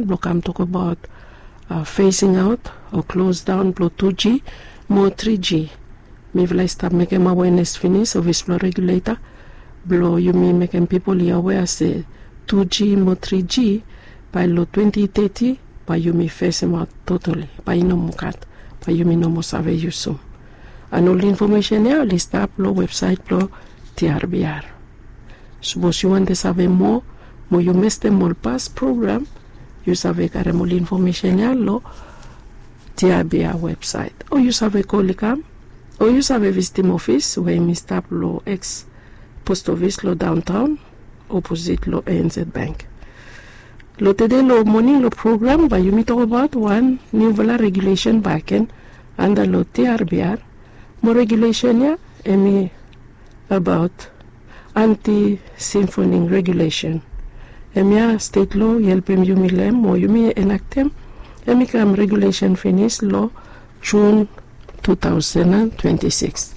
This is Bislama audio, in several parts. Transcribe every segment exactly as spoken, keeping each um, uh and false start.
blong kam tokbaot phasing aot o klos daon blong tu g mo tri g. Mifala i stap mekem awenes finis ofis blong reguleta blong yumi mekem pipol i awea se tu g mo tri g bae long twenti teti bae yumi fesemaot totoli, bae i no moa gat, bae yumi no moa save yusum. An ol infomesen ya oli stap long websaet blong tiarbr. Sapos yu wantem save moa mo yu mestem ol pas program, yu save karem ol infomesen ya long tiarbr websaet, o yu save kol i kam, o yu save visitim ofis we hem i stap long ex post ofis long daontaon oposit long anz bank. Long tede long moning long program bae yumi tokbaot wan niufala regulesen bakegen anda long tiarbr. Mo regulesen ya hem i abaot anti simfoning regulesen. Hemia stet loa i helpem yumi long hem o yumi enaktem. Hem i kam regulesen finis long jun tu taosen an twenti sikis.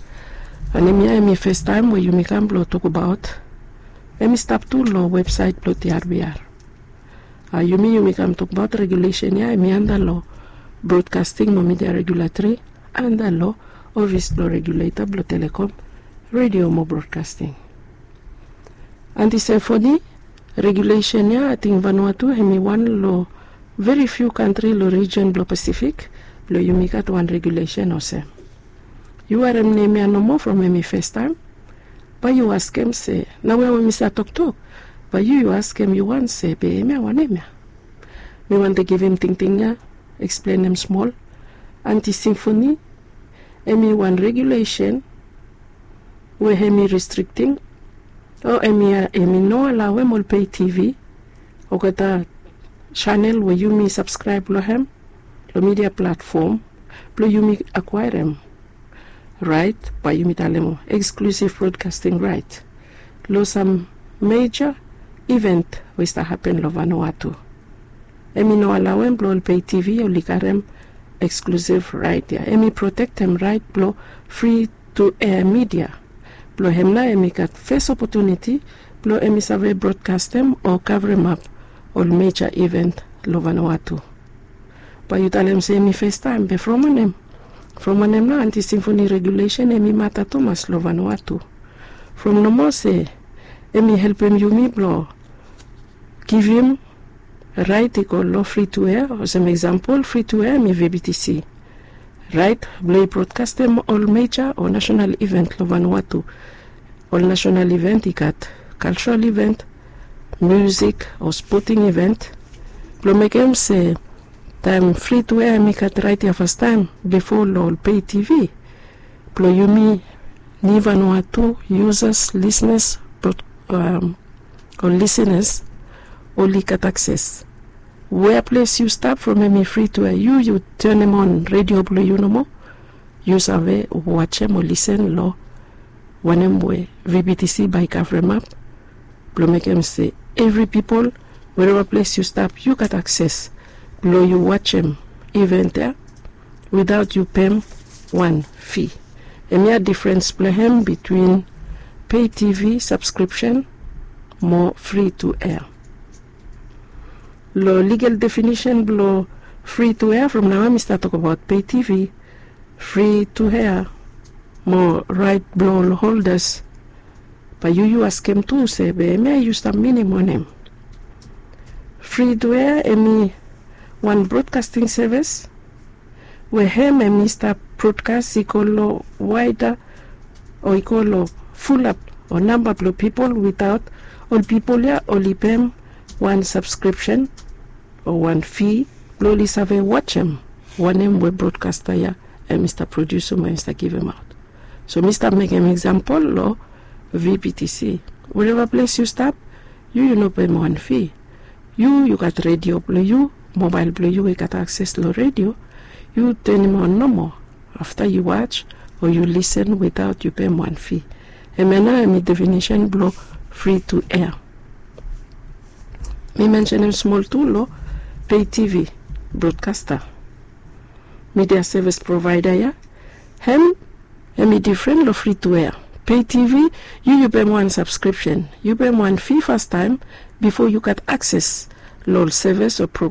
An hemia hem i festaem we yumi kam blong tokbaot. Hem i stap tu long websaet blong tiarbr. A yumi yumi kam tokbaot regulesen ya hem i anda long brodkasting mo midia regulatori anda long ofis blong reguleta blong telekom, redio mo brodkasting. Anti sefoni regulesen ya ating vanua tu hem i wan long veri fiu kantri long rijen blong pasifik blong yumi gat wan regulesen olsem. Yu harem nem ya nomo from hem i festaem, bae yu askem se na we we mi save toktok. Bae yu yu askem yu wan se be hemia wanem ya? Mi wantem givim tingting ya eksplenem smol. Anti simfoni hem i wan regulesen we hem i restrikting o hem i no alaoem ol pei tivi olgeta senel we yumi sabskraeb long hem long midia platfom blong yumi akwaerem raet bae yumi talem eksklusiv brodkasting raet long sam meja iven we i stap hapen long vanua tu. Hem i no alaoem blong ol pei tivi oli karem eksklusiv raet ya. Hem i protektem raet blong fri tu ea midia blong hem nao hem i gat fes opotuniti blong hem i save brodkastem o kavremap ol meja iven long vanua tu. Bae yu talem se hem i festaem be from wanem? From wanem nao anti simfoni regulesen hem i mata tumas long vanua tu? From nomo se hem i helpem yumi blong givim raet i go long fri tu ea olsem eksampol fri tu ea hem i vbtc raet blong i brodkastem ol meja o nasenal iven long vanua tu. Ol nasenal iven i gat kalsral iven, miusik o spoting iven blong mekem se taem fri tu ea hem i gat raet ya fastaem bifo long ol pei tivi blong yumi nivanua tu yusas lisnas o lisinas oli gat akses. Wea ples yu stap from hem i fri tu ea yu yu tenem on redio blong yu nomo yu save wajem o lisen long wanem we vbtc bae i kavremap blong mekem se evri pipol wereva ples yu stap yu gat akses blong yu wajem iven ya witaot yu pem wan fi. Hemia difrens blong hem bitwin pei tivi sabskripsen mo fri tu ea. Long ligel definisen blong fri tu ea from nao mi stap tokbaot pei tivi fri tu ea mo raet blong ol holdas. Bae yu yu askem tu se be hemia yu stap minim wanem? Fri tu ea hem i wan brodkasting sevis we hem hem i stap brodkas i go long waeda o i go long fulap o namba blong pipol witaot ol pipol ya oli pem wan sabskripsen o wan fi blong oli save wajem wanem we brodkasta ya hem i stap prodiusim o hem i stap givimaot. So mi stap mekem eksampol long vbtc. Wereva ples yu stap yu yu no pem wan fi. Yu yu gat redio blong yu, mobael blong yu we i gat akses long redio. Yu tenim on nomo afta yu waj o yu lisen witaot yu pem wan fi. Hemia nao hem i definisen blong fri tu ea. Mi mensenem smol tu long pei tivi brodkasta midia sevis provaeda ya. Hem hem i difren long fri tu ea. Pei tivi yu yu pem wan sabskripsen, yu pem wan fi fastaem bifo yu gat akses lo ol sevis o pro